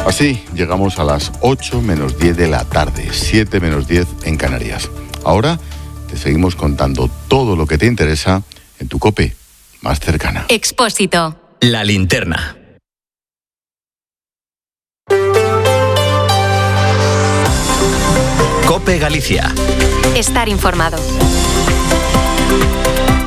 Así llegamos a las 8 menos 10 de la tarde, 7 menos 10 en Canarias. Ahora te seguimos contando todo lo que te interesa en tu COPE más cercana. Expósito. La linterna. COPE Galicia. Estar informado.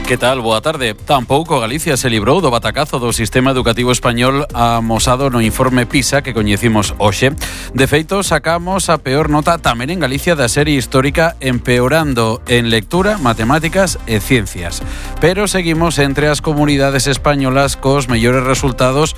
Que tal? Boa tarde. Tampouco Galicia se librou do batacazo do sistema educativo español amosado no informe PISA que coñecimos hoxe. De feito, sacamos a peor nota tamén en Galicia da serie histórica, empeorando en lectura, matemáticas e ciencias. Pero seguimos entre as comunidades españolas cos mellores resultados.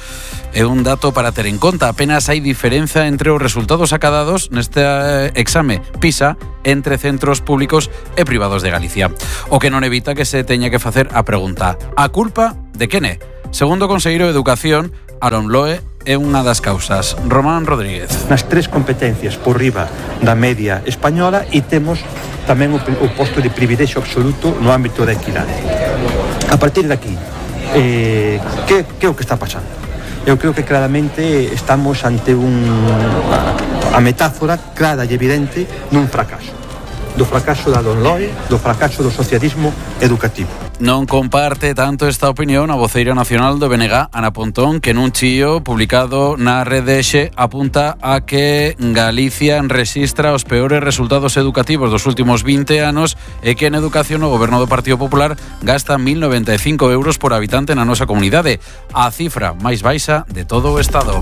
É un dato para ter en conta. Apenas hai diferenza entre os resultados acadados neste exame PISA entre centros públicos e privados de Galicia. O que non evita que se teña que facer a pregunta: a culpa de quen é? Segundo o conselleiro de Educación, Aaron Loe, é unha das causas. Román Rodríguez. Nas tres competencias por riba da media española e temos tamén o posto de privilexio absoluto no ámbito da equidade. A partir de aquí, que é o que está pasando? Eu creo que claramente estamos ante a metáfora clara e evidente dun fracaso. Do fracaso da Don Loe, do fracaso do socialismo educativo. Non comparte tanto esta opinión a voceira nacional do BNG, Ana Pontón, que nun chío publicado na rede X apunta a que Galicia rexistra os peores resultados educativos dos últimos 20 anos e que en educación o goberno do Partido Popular gasta 1.095 euros por habitante na nosa comunidade, a cifra máis baixa de todo o Estado.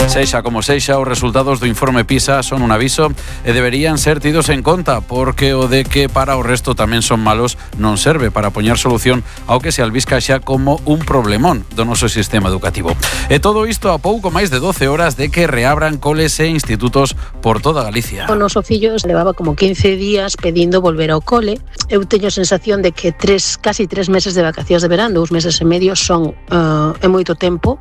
Sexa como sexa, os resultados do informe PISA son un aviso e deberían ser tidos en conta, porque o de que para o resto tamén son malos non serve para poñer solución ao que se albisca xa como un problemón do noso sistema educativo. E todo isto a pouco máis de 12 horas de que reabran coles e institutos por toda Galicia. O noso fillo levaba como 15 días pedindo volver ao cole. Eu teño a sensación de que casi 3 meses de vacacións de verán, 2 meses e medio son é moito tempo,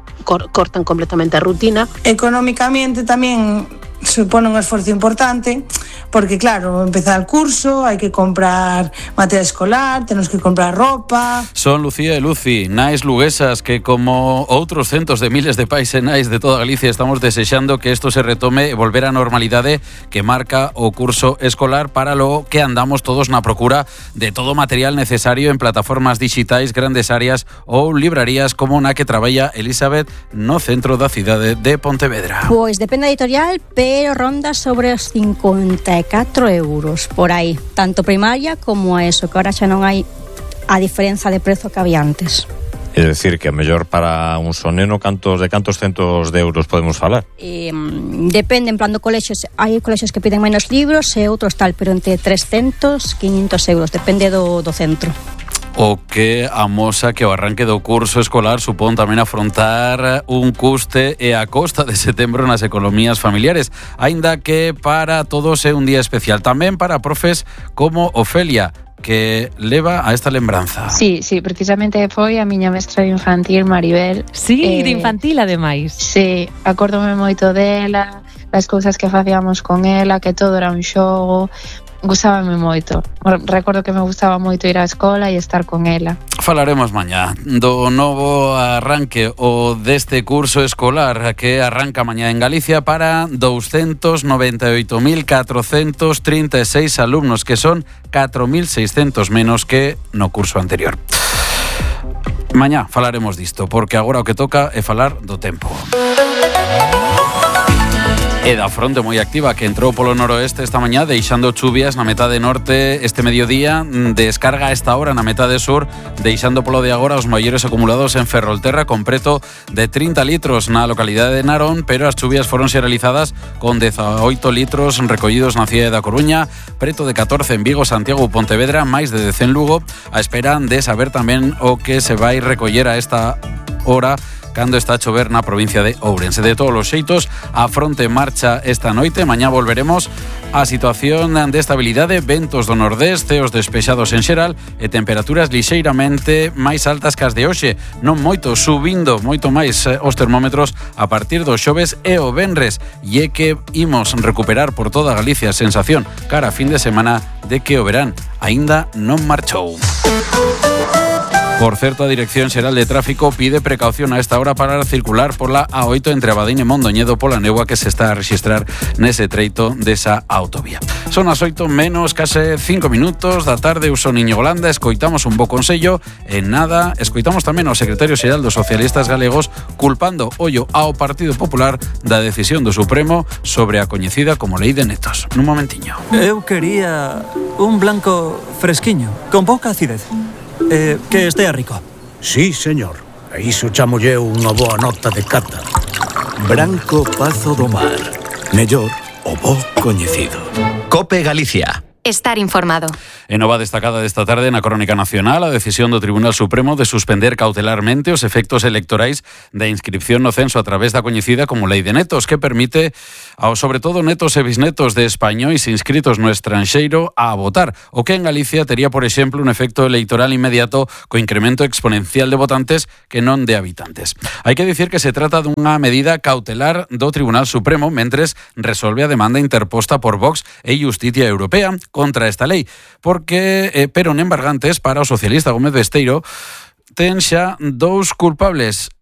cortan completamente a rutina. Económicamente tamén supone un esforzo importante, porque claro, empezar el curso, hai que comprar material escolar, tenemos que comprar ropa. Son Lucía e Luci, nais luguesas, que como outros centos de miles de pais e nais de toda Galicia estamos desexando que isto se retome e volver á normalidade que marca o curso escolar, para lo que andamos todos na procura de todo o material necesario en plataformas digitais, grandes áreas ou librarías como na que traballa Elizabeth no centro da cidade de Pontevedra. Pois depende da editorial, pero ronda sobre os 54 euros por aí, tanto primaria como a eso, que ahora xa non hai a diferenza de prezo que había antes. É dicir, que a mellor para un soneno de cantos centos de euros podemos falar? Depende, en plan do colexios, hai colexios que piden menos libros e outros tal, pero entre 300 e 500 euros, depende do centro. O que amosa que o arranque do curso escolar supón tamén afrontar un custe e a costa de setembro nas economías familiares, aínda que para todos é un día especial, tamén para profes como Ofelia, que leva a esta lembranza. Sí, precisamente foi a miña mestra de infantil, Maribel. Sí, de infantil ademais. Sí, acórdome moito dela, as cousas que facíamos con ela, que todo era un xogo. Gustábame moito. Recordo que me gustaba moito ir á escola e estar con ela. Falaremos mañá do novo arranque o deste curso escolar que arranca mañá en Galicia para 298.436 alumnos, que son 4.600 menos que no curso anterior. Mañá falaremos disto, porque agora o que toca é falar do tempo. E da fronte moi activa que entrou polo noroeste esta mañá, deixando chuvias na metade norte este mediodía, descarga a esta hora na metade sur, deixando polo de agora os maiores acumulados en Ferrolterra, con preto de 30 litros na localidade de Narón, pero as chuvias foronse realizadas con 18 litros recollidos na cidade da Coruña, preto de 14 en Vigo, Santiago ou Pontevedra, máis de 10 en Lugo, a espera de saber tamén o que se vai recoller a esta hora cando está a chover na provincia de Ourense. De todos os xeitos, a fronte marcha esta noite. Mañá volveremos a situación de estabilidade, ventos do nordés, ceos despexados en xeral e temperaturas lixeiramente máis altas que as de hoxe, non moito, subindo moito máis os termómetros a partir do xoves e o venres, e é que imos recuperar por toda Galicia a sensación cara a fin de semana de que o verán aínda non marchou. Por certo, a Dirección Xeral de Tráfico pide precaución a esta hora para circular por la A8 entre Abadín e Mondoñedo pola néboa que se está a rexistrar nese treito desa autovía. Son as 8 menos case 5 minutos da tarde. Eu son Íñigo Landa, escoitamos un bo consello e nada, escoitamos tamén ao secretario xeral dos socialistas galegos culpando ollo ao Partido Popular da decisión do Supremo sobre a coñecida como Lei de Netos. Nun momentiño. Eu quería un blanco fresquiño, con pouca acidez. Que estea rico. Sí, señor. A iso chamolle unha boa nota de cata. Branco Pazo do Mar. Mellor o bo coñecido. COPE Galicia. Estar informado. En nova destacada desta tarde na Crónica Nacional, a decisión do Tribunal Supremo de suspender cautelarmente os efectos electorais da inscripción no censo a través da coñecida como Lei de Netos, que permite aos sobre todo netos e bisnetos de españois inscritos no estranxeiro a votar, o que en Galicia tería, por exemplo, un efecto electoral inmediato co incremento exponencial de votantes que non de habitantes. Hai que dicir que se trata dunha medida cautelar do Tribunal Supremo mentres resolve a demanda interposta por Vox e Justicia Europea contra esta lei, porque pero embargantes para o socialista Gómez Besteiro ten xa dous culpables.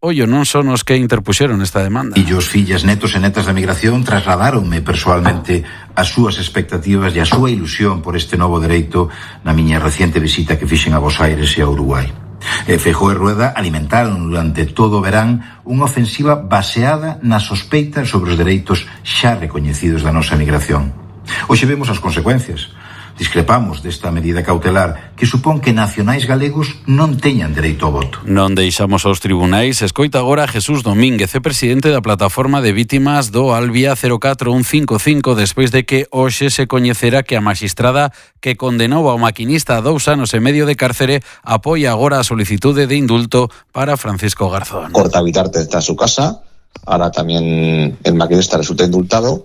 Ollo, non son os que interpuxeron esta demanda. E os fillas, netos e netas da migración trasladaronme persoalmente as súas expectativas e a súa ilusión por este novo dereito na miña reciente visita que fixen a Buenos Aires e a Uruguai. Feijóo e Rueda alimentaron durante todo o verán unha ofensiva baseada na sospeita sobre os dereitos xa recoñecidos da nosa migración. Hoxe vemos as consecuencias. Discrepamos desta medida cautelar que supón que nacionais galegos non teñan dereito ao voto. Non deixamos aos tribunais. Escoita agora Jesús Domínguez, é presidente da plataforma de vítimas do Albia 04155, despois de que hoxe se coñecera que a maxistrada que condenou ao maquinista a 2 anos e medio de cárcere apoia agora a solicitude de indulto para Francisco Garzón. Corta Vitarte está en su casa, ahora también el maquinista resulta indultado.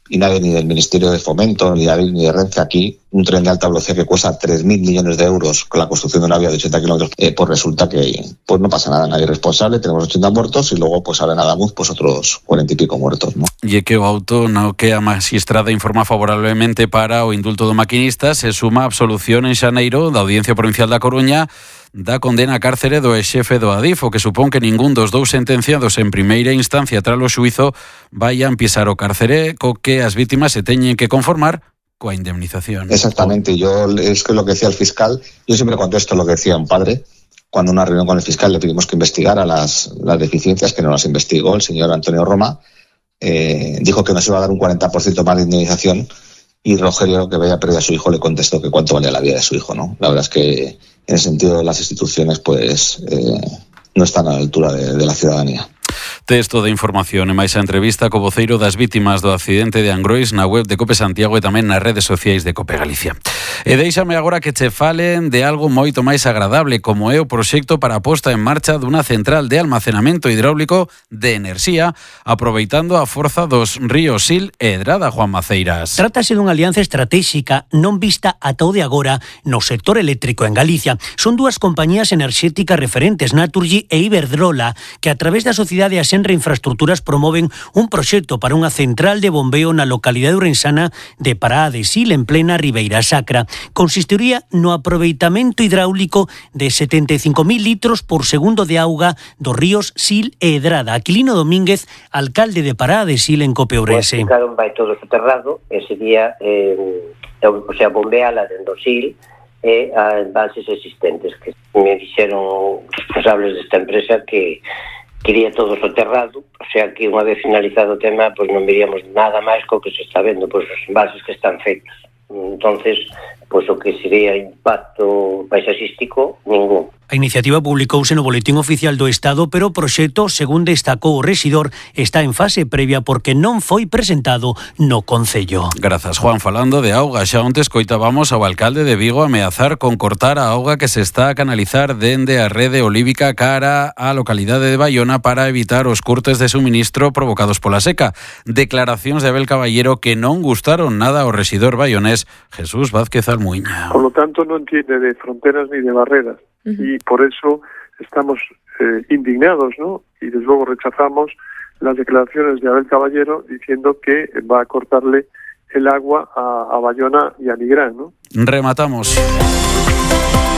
Y nadie, ni del Ministerio de Fomento, ni de Renfe aquí, un tren de alta velocidad que cuesta 3.000 millones de euros con la construcción de una vía de 80 kilómetros, pues resulta que pues no pasa nada, nadie es responsable, tenemos 80 muertos y luego pues ahora en Adamuz pues otros 40 y pico muertos, ¿no? E que o auto no que a magistrada informa favorablemente para o indulto do maquinista se suma a absolución en xaneiro da Audiencia Provincial da Coruña da condena a cárcere do exxefe do Adif, o que supón que ningún dos dous sentenciados en primeira instancia tras o xuízo vayan pisar o cárcere, co que as vítimas se teñen que conformar coa indemnización. Exactamente, es que lo que decía el fiscal, yo siempre contesto lo que decía un padre, cuando en una reunión con el fiscal le pedimos que investigara las deficiencias, que no las investigó el señor Antonio Roma, dijo que nos iba a dar un 40% más de indemnización, y Rogelio, que había perdido a su hijo, le contestó que cuánto valía la vida de su hijo, ¿no? La verdad es que en el sentido de las instituciones pues no están a la altura de la ciudadanía. Texto de información e máis a entrevista co voceiro das vítimas do accidente de Angrois na web de Cope Santiago e tamén nas redes sociais de Cope Galicia. E deixame agora que che falen de algo moito máis agradable, como é o proxecto para a posta en marcha dunha central de almacenamento hidráulico de enerxía, aproveitando a forza dos ríos Sil e Edrada, Juan Maceiras. Trátase dunha alianza estratégica non vista ata o de agora no sector eléctrico en Galicia. Son dúas compañías enerxéticas referentes, Naturgy e Iberdrola, que a través da sociedade Asenra Infraestructuras promoven un proxecto para unha central de bombeo na localidade ourensana de Pará de Sil, en plena Ribeira Sacra. Consistiría no aproveitamento hidráulico de 75.000 litros por segundo de auga dos ríos Sil e Edrada. Aquilino Domínguez, alcalde de Pará de Sil, en Cope Ourense. Claro, vai todo soterrado e sería bombeala dentro do Sil e as bases existentes, que me dixeron os responsables desta empresa que quería todo soterrado, o sea que unha vez finalizado o tema, pois non veríamos nada máis co que se está vendo, pois as bases que están feitas. Entonces, pois o que sería impacto paisaxístico, ningún. A iniciativa publicouse no Boletín Oficial do Estado, pero o proxecto, según destacou o rexidor, está en fase previa porque non foi presentado no Concello. Grazas, Juan. Falando de auga, xa onte escoitábamos ao alcalde de Vigo ameazar con cortar a auga que se está a canalizar dende a rede olívica cara á localidade de Baiona para evitar os curtes de suministro provocados pola seca. Declaracións de Abel Caballero que non gustaron nada ao rexidor baionés Jesús Vázquez Almuiña. Por lo tanto, no entiende de fronteras ni de barreras. Y por eso estamos indignados, ¿no? Y desde luego rechazamos las declaraciones de Abel Caballero diciendo que va a cortarle el agua a Baiona y a Nigrán, ¿no? Rematamos.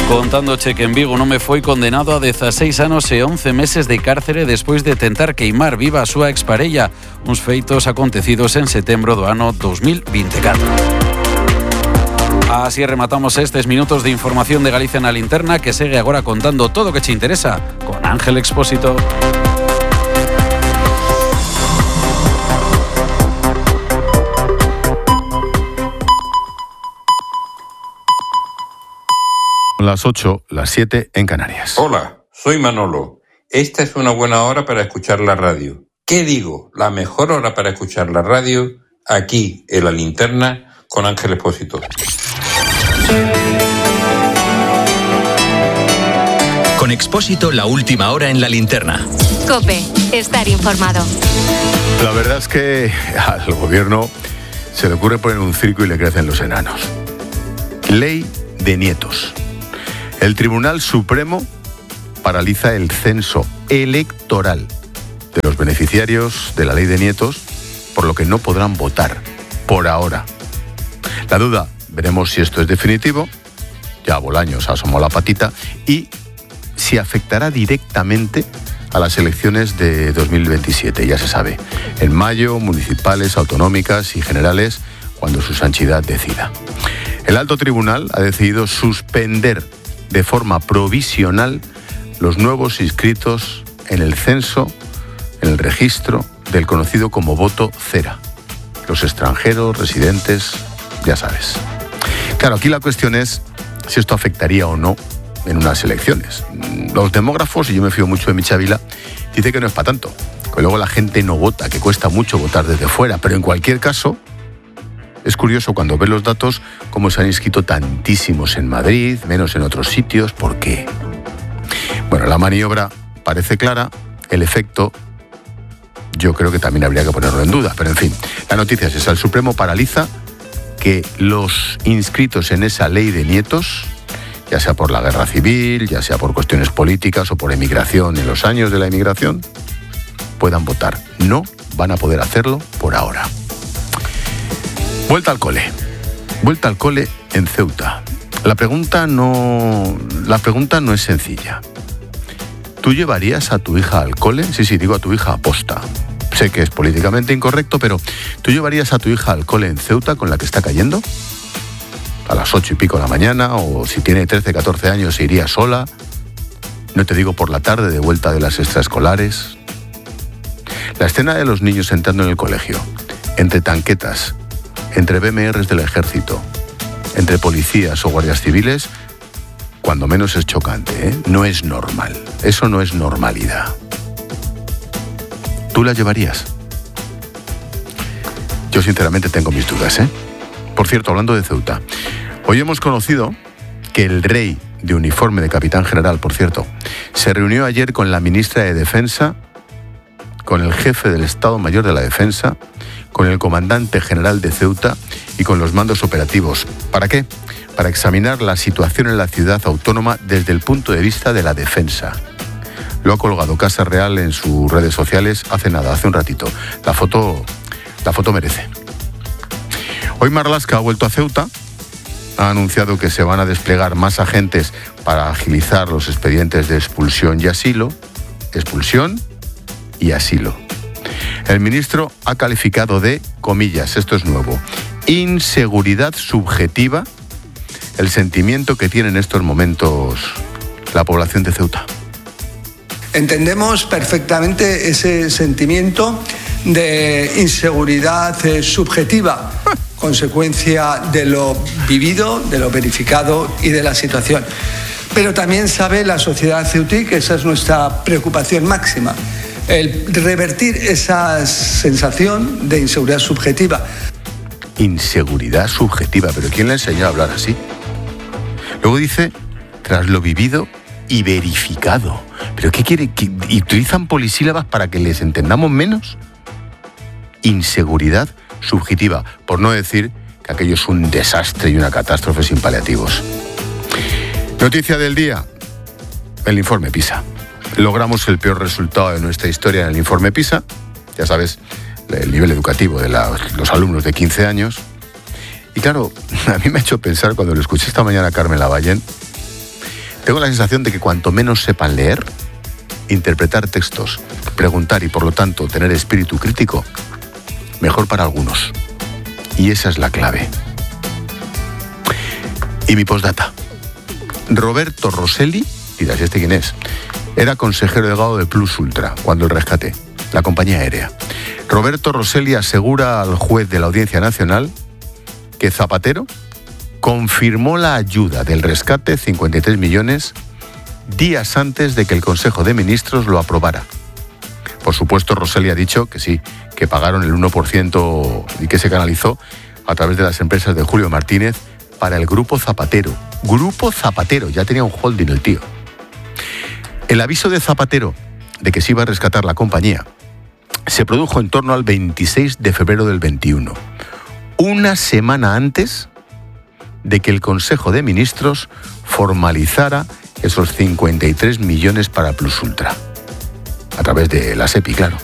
Contándoche que en Vigo un home foi condenado a 16 anos e 11 meses de cárcere despois de tentar queimar viva a súa exparella, uns feitos acontecidos en setembro do ano 2024. Así rematamos estes minutos de información de Galicia na Linterna, que segue agora contando todo o que te interesa con Ángel Expósito. Las 8, las 7 en Canarias. Hola, soy Manolo. Esta es una buena hora para escuchar la radio. ¿Qué digo? La mejor hora para escuchar la radio, aquí en La Linterna, con Ángel Expósito. Con Expósito, la última hora en La Linterna. COPE, estar informado. La verdad es que al gobierno se le ocurre poner un circo y le crecen los enanos. Ley de nietos. El Tribunal Supremo paraliza el censo electoral de los beneficiarios de la ley de nietos, por lo que no podrán votar, por ahora. La duda, veremos si esto es definitivo, ya Bolaños asomó la patita, y si afectará directamente a las elecciones de 2027, ya se sabe, en mayo, municipales, autonómicas y generales, cuando su santidad decida. El alto tribunal ha decidido suspender de forma provisional los nuevos inscritos en el censo, en el registro del conocido como voto cera. Los extranjeros, residentes, ya sabes. Claro, aquí la cuestión es si esto afectaría o no en unas elecciones. Los demógrafos, y yo me fío mucho de Michavila, dicen que no es para tanto, que luego la gente no vota, que cuesta mucho votar desde fuera, pero en cualquier caso, es curioso cuando ves los datos cómo se han inscrito tantísimos en Madrid, menos en otros sitios. ¿Por qué? Bueno, la maniobra parece clara, el efecto yo creo que también habría que ponerlo en duda, pero en fin, la noticia es esa: el Supremo paraliza que los inscritos en esa ley de nietos, ya sea por la guerra civil, ya sea por cuestiones políticas o por emigración en los años de la emigración, puedan votar. No van a poder hacerlo por ahora. Vuelta al cole en Ceuta. La pregunta no es sencilla. ¿Tú llevarías a tu hija al cole? Sí, digo a tu hija aposta. Sé que es políticamente incorrecto, pero ¿tú llevarías a tu hija al cole en Ceuta con la que está cayendo? A las 8 y pico de la mañana, o si tiene 13, 14 años se iría sola. No te digo por la tarde de vuelta de las extraescolares. La escena de los niños entrando en el colegio, entre tanquetas, entre BMRs del ejército, entre policías o guardias civiles, cuando menos es chocante, ¿eh? No es normal. Eso no es normalidad. ¿Tú la llevarías? Yo sinceramente tengo mis dudas, ¿eh? Por cierto, hablando de Ceuta, hoy hemos conocido que el rey de uniforme de capitán general, por cierto, se reunió ayer con la ministra de Defensa, con el jefe del Estado Mayor de la Defensa, con el comandante general de Ceuta y con los mandos operativos. ¿Para qué? Para examinar la situación en la ciudad autónoma desde el punto de vista de la defensa. Lo ha colgado Casa Real en sus redes sociales hace un ratito. La foto merece. Hoy Marlaska ha vuelto a Ceuta, ha anunciado que se van a desplegar más agentes para agilizar los expedientes de expulsión y asilo. Expulsión y asilo. El ministro ha calificado de, comillas, esto es nuevo, inseguridad subjetiva el sentimiento que tiene en estos momentos la población de Ceuta. Entendemos perfectamente ese sentimiento de inseguridad subjetiva, consecuencia de lo vivido, de lo verificado y de la situación. Pero también sabe la sociedad ceutí que esa es nuestra preocupación máxima, el revertir esa sensación de inseguridad subjetiva. Inseguridad subjetiva, pero ¿quién le enseñó a hablar así? Luego dice, tras lo vivido y verificado. ¿Pero qué quiere? ¿Y utilizan polisílabas para que les entendamos menos? Inseguridad subjetiva, por no decir que aquello es un desastre y una catástrofe sin paliativos. Noticia del día, el informe PISA. Logramos el peor resultado de nuestra historia en el informe PISA. Ya sabes, el nivel educativo de los alumnos de 15 años. Y claro, a mí me ha hecho pensar cuando lo escuché esta mañana a Carmen Lavallén, Tengo la sensación de que cuanto menos sepan leer, interpretar textos, preguntar y por lo tanto tener espíritu crítico, mejor para algunos. Y esa es la clave. Y mi postdata. Roberto Rosselli, dirás, ¿este quién es? Era consejero delegado de Plus Ultra cuando el rescate, la compañía aérea. Roberto Rosselli asegura al juez de la Audiencia Nacional que Zapatero confirmó la ayuda del rescate, 53 millones, días antes de que el Consejo de Ministros lo aprobara. Por supuesto, Rosselli ha dicho que sí, que pagaron el 1% y que se canalizó a través de las empresas de Julio Martínez para el Grupo Zapatero. Grupo Zapatero, ya tenía un holding el tío. El aviso de Zapatero de que se iba a rescatar la compañía se produjo en torno al 26 de febrero del 21, una semana antes de que el Consejo de Ministros formalizara esos 53 millones para Plus Ultra, a través de la SEPI, claro.